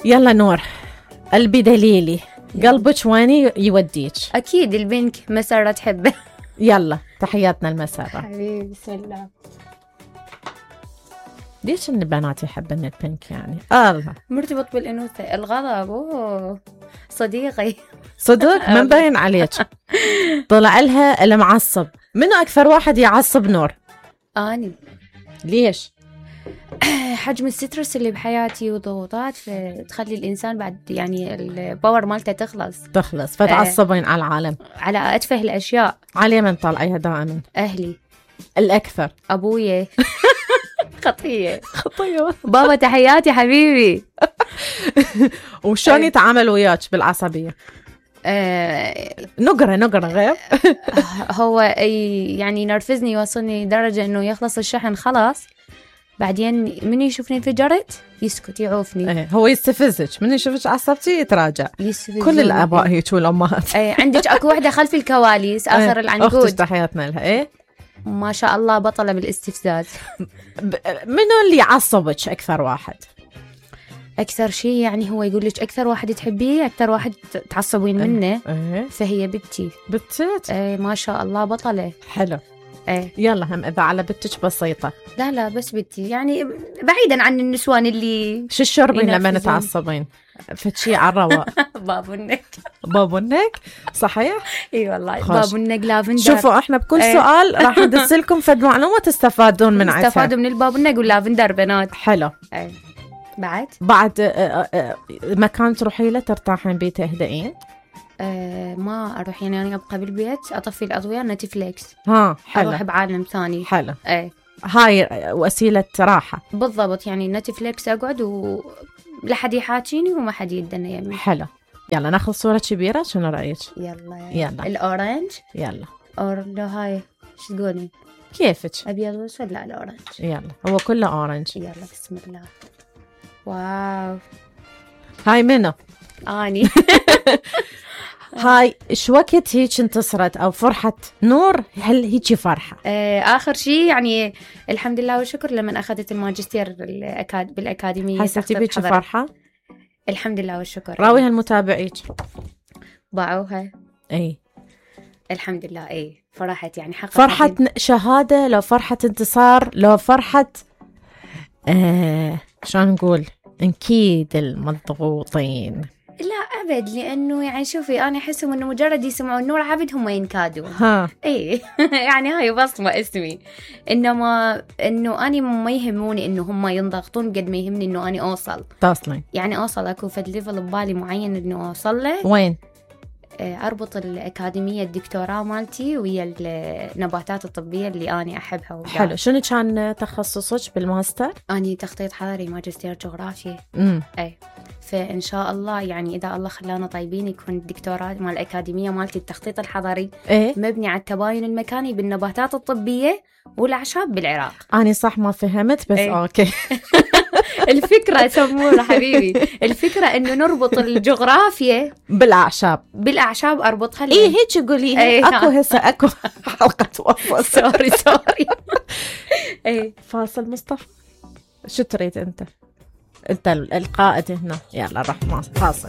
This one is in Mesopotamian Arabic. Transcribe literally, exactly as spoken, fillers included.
يلا نور، قلبي دليلي، قلبك وين يوديك؟ اكيد البنك، مسرة تحبه. يلا تحياتنا المسرة حبيبي. بسم الله. ليش ان البنات يحبن البنك يعني؟ الله مرتبط بالانوثه. الغضب اوه صديقي. صدق ما مبين عليك. طلع لها المعصب. منو اكثر واحد يعصب نور؟ اني. ليش؟ حجم السترس اللي بحياتي وضغوطات تخلي الانسان بعد يعني الباور مالته تخلص تخلص فتعصبين آه. على العالم، على اتفه الاشياء. على من طالعيها دائما؟ اهلي الاكثر. ابويا. خطيه خطيه. بابا تحياتي حبيبي. وشون يتعامل وياك بالعصبيه؟ آه نقرة نقرة غير. هو يعني ينرفزني، يوصلني درجة انه يخلص الشحن خلاص، بعدين من يشوفني انفجرت يسكت يعوفني. ايه هو يستفزك، من يشوفك عصبتي يتراجع. يستفزني. كل الاباء هيك والامهات. ايه عندك اكو وحده خلف الكواليس اخر ايه. العنقود. اختك تحياتنا لها. ايه ما شاء الله بطلة بالاستفزاز. منو اللي يعصبك اكثر واحد؟ اكثر شيء يعني هو يقول لك اكثر واحد تحبيه، اكثر واحد تعصبين منه. ايه. فهي بنتي. بنتك؟ ايه ما شاء الله بطلة. حلو. ايه يلا هم اذا على بنتك بسيطة. لا لا بس بنتي يعني بعيدا عن النسوان اللي شو الشربين لما نتعصبين؟ فتشي على الرواق. بابونك. بابونك صحيح؟ اي والله بابونك لافندر. شوفوا احنا بكل ايه. سؤال راح ندس لكم فد معلومة تستفادون من عندها. تستفادوا من البابونك واللافندر بنات. حلو. ايه. بعد بعد اه اه مكان تروحي له ترتاحين بيه تهدئين؟ أه ما اروح يعني انا ابقى بالبيت اطفي الاضويه نتفليكس. ها حلو. اروح بعالم ثاني. حلو. ايه هاي وسيله راحه بالضبط، يعني نتفليكس اقعد و لا حد يحاكيني وما حد يدنا يمي. حلو. يلا ناخذ صوره كبيره، شنو رايك؟ يلا يلا الاورنج. يلا اور لو هاي شو تقولي؟ كيفك؟ ابيض واسود؟ لا الاورنج. يلا هو كله اورنج. يلا بسم الله. واو هاي منو؟ اني. هاي ايش وقت هيك انتصرت او فرحة نور؟ هل هيك فرحة؟ آه اخر شيء يعني الحمد لله والشكر لما اخذت الماجستير الأكاد... بالاكاديميه. حسيتي بيك فرحة؟ الحمد لله والشكر. راويها المتابعيك باعوها. اي الحمد لله. اي فرحت يعني حققت فرحة شهادة، لو فرحة انتصار، لو فرحة آه شلون نقول انكيد المضغوطين. لا أبد، لأنه يعني شوفي أنا أحسهم إنه مجرد يسمعون نور عبد هم ينكادون. ها إيه. يعني هاي بصمة اسمي، إنما إنه أنا ما يهموني إنه هم ينضغطون قد ما يهمني إنه أنا أوصل. تصلين يعني أوصل أكو فد ليفل ببالي معين إنه أوصل له. وين؟ أربط الأكاديمية الدكتوراه مالتي ويا النباتات الطبية اللي أنا أحبها ودا. حلو. شنو كان تخصصك بالماستر؟ أنا تخطيط حضري ماجستير جغرافيا. امم أي فإن شاء الله يعني إذا الله خلانا طيبين يكون الدكتوراه مال الأكاديمية مالتي التخطيط الحضري إيه؟ مبني على التباين المكاني بالنباتات الطبية والأعشاب بالعراق. أنا صح ما فهمت بس إيه؟ أوكي. الفكرة سمورة حبيبي، الفكرة إنه نربط الجغرافيا بالأعشاب. بالأعشاب أربطها. إيه هيك قولي. إيه أكو هسه أكو حلقة وصل. سوري سوري. إيه فاصل مصطفى. شو تريد أنت؟ أنت القائد هنا. يلا روح فاصل.